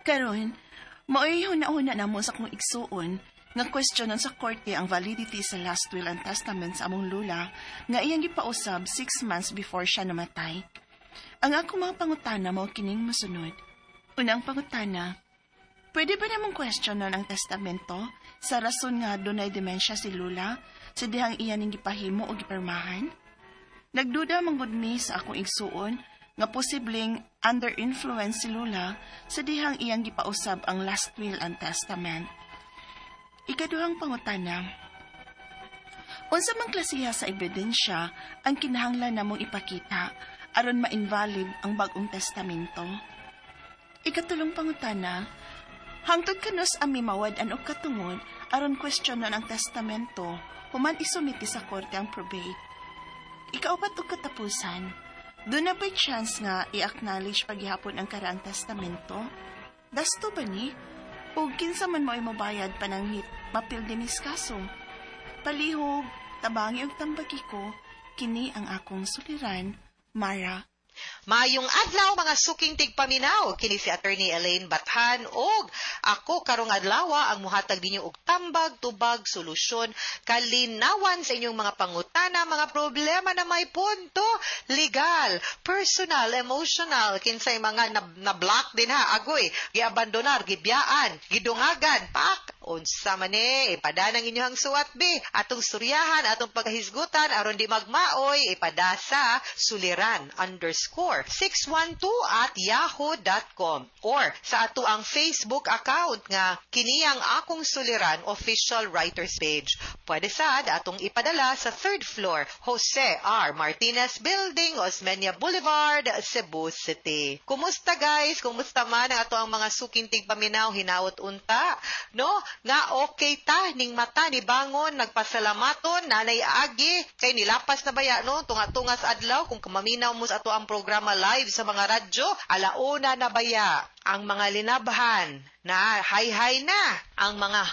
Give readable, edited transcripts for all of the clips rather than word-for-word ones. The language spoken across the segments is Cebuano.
Karon, mao'y huna-huna namo sa akong igsuon nga questionon sa korte ang validity sa last will and testament sa among lula nga iyang gipausab 6 months before siya namatay. Ang akong mga pangutana mao kining mosunod. Unang pangutana, pwede ba namong questionon ang testamento sa rason nga dunay demensya si Lula sa dihang iya ning gipahimo o gipirmahan? Nagduda man gud mi sa akong igsuon nga posibleng under influence si Lula sa dihang iyang gipausab ang last will and testament. Ikaduhang pangutana, unsa man klasiha sa ebidensya ang kinahanglan namong ipakita aron ma-invalid ang bag-ong testamento? Ikatulong pangutana, hangtod kanus-a mi mawad-an og katungod aron questionon ang testamento human isumite sa korte ang probate? Ikaupat ug katapusan, duna ba'y chance nga i-acknowledge paghihapon ang karaang testamento? Dasto ba ni? O kinsa man mo'y mobayad pananghit mapildi nis kaso? Palihog, tabangi og tambagi ko, kini ang akong suliran, Mara. Maayong adlaw, mga suking tigpaminaw, kini si Attorney Elaine Bathan og ako karong adlaw ang muhatag ninyo og tambag, tubag, solusyon, kalinawan sa inyong mga pangutana, mga problema na may punto legal, personal, emotional, kinsay mga na-block din ha, agoy, giabandonar, gibiyaan, gidungagan, pak, unsa man ni, ipada ng inyong suwat be, atong suryahan, atong paghisgutan, aron di magmaoy, ipada sa suliran_612@yahoo.com or sa ato ang Facebook account nga kini ang Akong Suliran official writers page. Pwede sad atong ipadala sa third floor, Jose R. Martinez Building, Osmeña Boulevard, Cebu City. Kumusta, guys? Kumusta man ang ato ang mga suking tigpaminaw? Hinaot unta, no? Nga okay ta ning mata ni bangon, nagpasalamaton nanay agi kay nilapas na baya, no, tunga-tungas adlaw. Kung maminaw mo sa ato ang programa live sa mga radyo, alauna na baya. Ang mga linabhan na hay-hay na, ang mga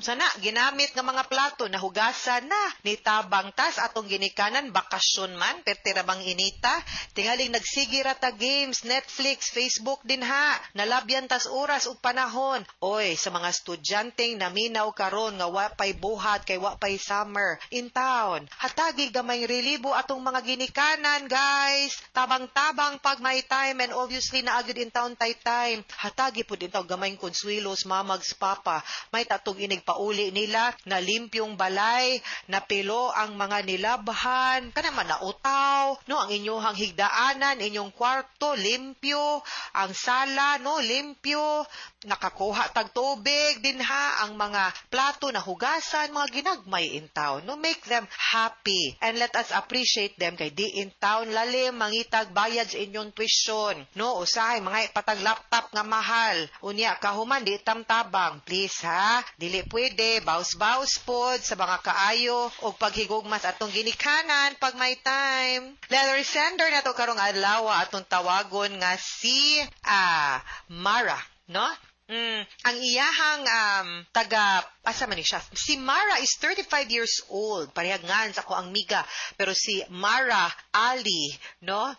sana ginamit nga mga plato na hugasan na, nitabang tas atong ginikanan. Bakasyon man, perti ra bang inita, tingaling nagsige ra ta games, Netflix, Facebook din ha, nalabyan tas oras ug panahon. Oy, sa mga estudyanteng naminaw karon nga wa pay buhat kay wa pay summer in town, hatagi gamay relibo atong mga ginikanan, guys. Tabang-tabang pag may time, and obviously naa gyud in town tay time. Hatagi pud in town gamay konsuelos mamags papa, may tatong inig pauli nila na limpyong balay, napilo ang mga nilabhan, kana man nautaw, no, ang inyong higdaanan, inyong kwarto limpyo, ang sala, no, limpyo, nakakuha tag tubig dinha, ang mga plato na hugasan, mga ginagmay in town, no. Make them happy and let us appreciate them kay di in town lalim mangitag bayad sa inyong tuition, no. Usahay mga patag laptop nga mahal, unya kahuman di tamtabang. Please ha, dili pwede baus-baus pod sa mga kaayo og paghigugmas atong ginikanan pag may time. Letter sender nato karong adlaw, atong tawagon nga si Mara, no. Ang iyahang taga asa man ni siya? Si Mara is 35 years old. Parehag ngan sa ako ang miga. Pero si Mara Ali, no?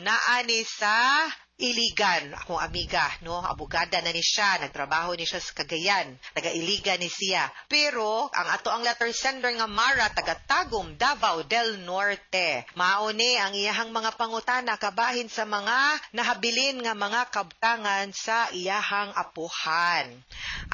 Naa ni sa Iligan, akong amiga, no? Abogada na ni siya, nagtrabaho ni siya sa Cagayan, taga Iligan ni siya. Pero ang ato ang letter sender nga Mara, taga Tagum, Davao del Norte. Mao ni ang iyahang mga pangutana kabahin sa mga nahabilin nga mga kabtangan sa iyahang apuhan.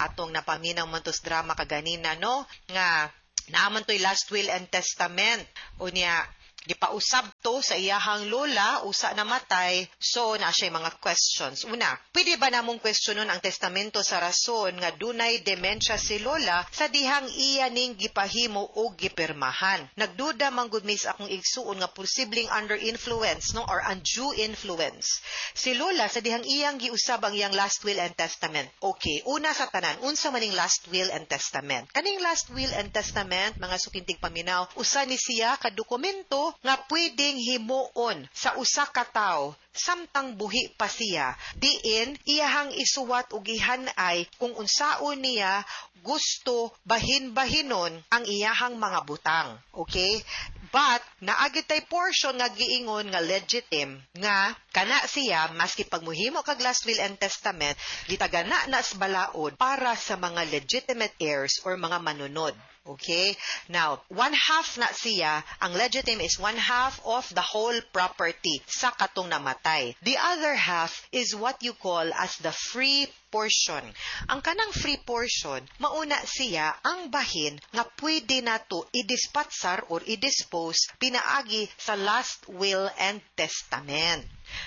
Atong napaminaw man tos drama kaganina, no? Nga naaman to'y last will and testament. Unya, gipausab to sa iyahang lola, usa namatay, so naa siya mga questions. Una, pwede ba namong questionon ang testamento sa rason nga dunay dementia si lola sa dihang iya ning gipahimo o gipirmahan? Nagduda man gud mi sa akong igsuon nga posibleng under influence, no, or undue influence si lola sa dihang iyang giusab ang iyang last will and testament. Okay, una sa tanan, unsa maning last will and testament? Kaning last will and testament, mga suking tigpaminaw, usa ni siya ka dokumento nga pwedeng himuon sa usa ka tawo samtang buhi pa siya, diin iyahang isuwat ug gihan-ay kung unsaon niya gusto bahin-bahinon ang iyahang mga butang. Okay? But naa gyud tay portion nga giingon nga legitime, nga kana siya maski pag muhimo kag last will and testament, gitagana na sa balaod para sa mga legitimate heirs or mga manunod. Okay? Now, one half na siya, ang legitime is one half of the whole property sa katong namatay. The other half is what you call as the free portion. Ang kanang free portion, mauna siya ang bahin nga pwede nato idispatsar or i-dispose pinaagi sa last will and testament.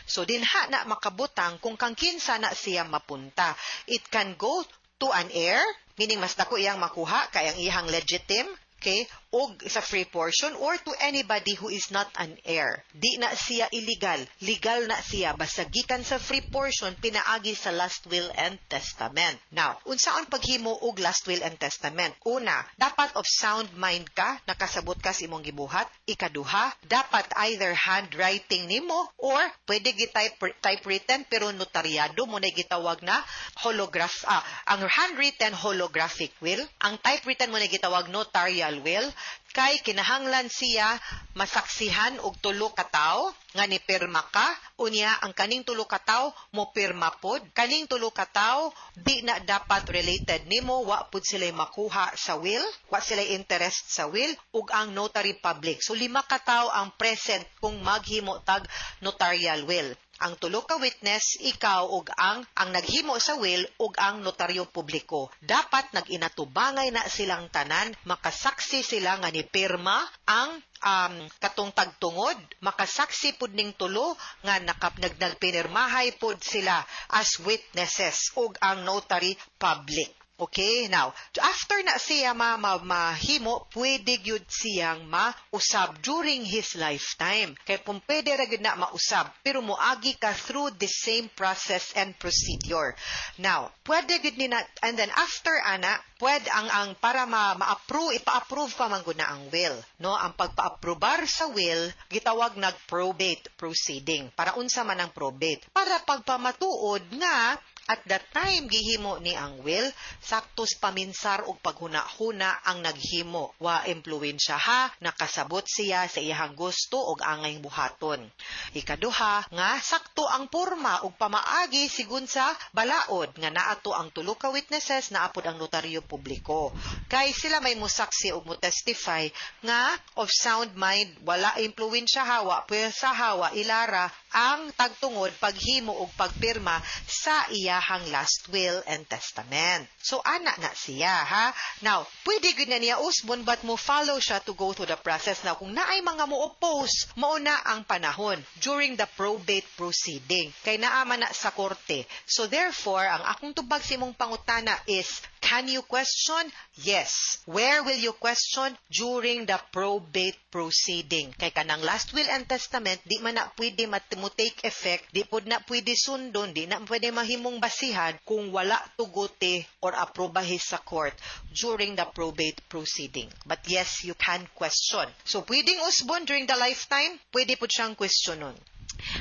So dinha na makabutang kung kang kinsa na siya mapunta. It can go to an heir, meaning mas dako iyang makuha kay ang iyang legitime, okay, og sa free portion, or to anybody who is not an heir. Di na siya illegal, legal na siya basta gikan sa free portion pinaagi sa last will and testament. Now, unsaon paghimo og last will and testament? Una, dapat of sound mind ka, nakasabot ka sa imong gibuhat. Ikaduha, dapat either handwriting nimo or pwede gi-type typewritten pero notaryado mo na gitawag na holograph, ang handwritten holographic will, ang typewritten mo na gitawag notarial will, kay kinahanglan siya masaksihan og tulo ka tawo nga ni pirma ka. Unya ang kaning tulo ka tawo mo pirma pod. Kaning tulo ka tawo di na dapat related nimo, wa pud sila makuha sa will, wa sila interest sa will, ug ang notary public. So lima ka tawo ang present kung maghimo tag notarial will: ang tulo ka witness, ikaw ug ang naghimo sa will ug ang notaryo publiko. Dapat nag-inatubangay na silang tanan, makasaksi sila nga ni pirma ang katong tagtungod, makasaksi pud ning tulo nga nakap nagpinirmahay pud sila as witnesses ug ang notary public. Okay, now, after na siya mahimo, pwede gyud siyang mausab during his lifetime. Kay kung pwede ra gyud na mausab, pero moagi ka through the same process and procedure. Now, pwede gyud ni na, and then after ana, pwede ang para ma-approve, ipa-approve pa man gud na ang will. No, ang pagpa-aprobar sa will, gitawag nag probate proceeding. Para unsa man ang probate? Para pagpamatuod nga at that time gihimo ni ang will, saktos paminsar og paghuna-huna ang naghimo. Wa impluwensya ha, nakasabot siya sa iyahang gusto og angay buhaton. Ikaduha, nga sakto ang porma og pamaagi sigun sa balaod nga naato ang tulo ka witnesses, naapod ang notaryo publiko. Kay sila may musaksi og mo testify nga of sound mind, wala impluwensya ha, wa pwersa ha, wa ilara ang tagtungod paghimo og pagpirma sa iyahang last will and testament. So, ana na siya, ha? Now, pwede gyud na niya usbon, but mo follow siya to go through the process. Now, kung naay mga mo oppose, mauna ang panahon during the probate proceeding. Kay naa man na sa korte. So, therefore, ang akong tubag sa imong pangutana is, can you question? Yes. Where will you question? During the probate proceeding. Kay kanang last will and testament, di man na pwede mo take effect, di pod na pwede sundon, di na pwede mahimong basihan kung wala tuguti or aprobahi sa court during the probate proceeding. But yes, you can question. So, pwedeng usbon during the lifetime, pwede po siyang questionon.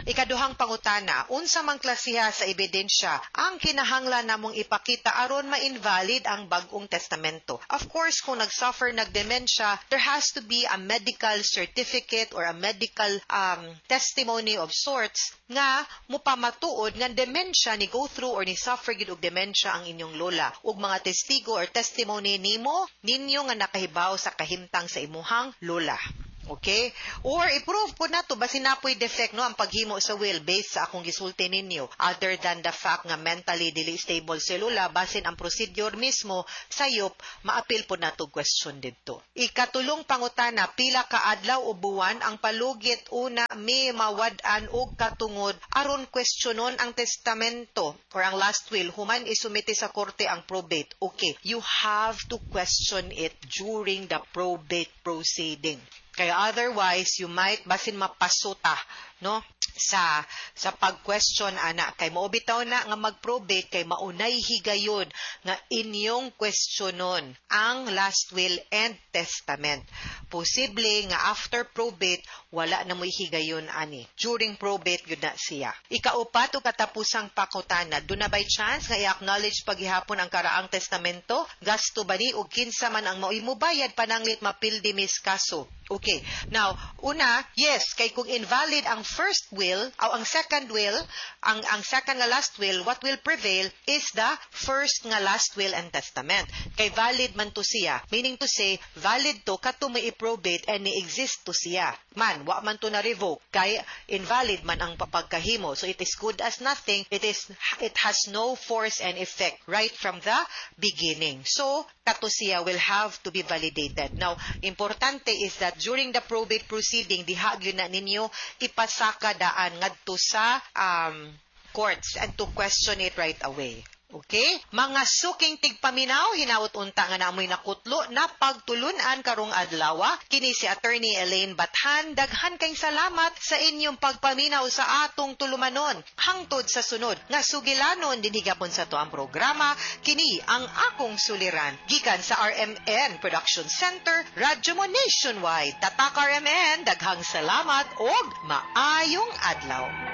Ikaduhang pangutana, unsa man klasiha sa ebidensya ang kinahanglan namong ipakita aron ma-invalid ang bag-ong testamento? Of course, kung nag-suffer nag dementia, there has to be a medical certificate or a medical testimony of sorts nga mupamatuod nga dementia ni go through or ni suffer gid og dementia ang inyong lola, ug mga testigo or testimony nimo ninyo nga nakahibaw sa kahimtang sa imuhang lola. Okay? Or i-prove po nato basin napoy defect, no, ang paghimo sa will based sa akong gisulti ninyo. Other than the fact nga mentally dili stable si lola, basin ang procedure mismo sayop, maapil po nato question didto. Ikatulong pangutana, pila ka adlaw o buwan ang palugit una may mawad-an og katungod aron questionon ang testamento or ang last will human isumite sa korte ang probate? Okay, you have to question it during the probate proceeding. Kaya otherwise, you might basin mapasuta, no, sa pag-question ana, kay mao bitaw na nga mag-probate kay maunay higayon nga inyong questionon ang last will and testament. Posible nga after probate wala na mo'y higayon ani. During probate gyud na siya. Ikaupat o katapusang pangutana, duna bay chance nga i-acknowledge paghihapon ang karaang testamento? Gasto ba ni ug kinsa man ang maoy mobayad, pananglit mapildi mis kaso? Okay. Now, una, yes, kay kung invalid ang first will, o ang second will, ang second nga last will, what will prevail is the first nga last will and testament. Kay valid man to siya. Meaning to say, valid to kato may i-probate and ni-exist to siya. Man, wa man to na revoke. Kay invalid man ang pagkahimo. So it is good as nothing. It has no force and effect right from the beginning. So, kato siya will have to be validated. Now, importante is that during the probate proceeding, diha gyud na ninyo ipasaka daan ngadto sa courts and to question it right away. Okay? Mga suking tigpaminaw, hinaot unta nga namoy nakutlo na pagtulunan karong adlaw. Kini si Attorney Elaine Bathan. Daghan kayong salamat sa inyong pagpaminaw sa atong tulumanon. Hangtod sa sunod nga sugilanon dinhi gapon sa atuang programa, kini ang Akong Suliran. Gikan sa RMN Production Center, Radyo Mo Nationwide. Tatak RMN, daghang salamat og maayong adlaw.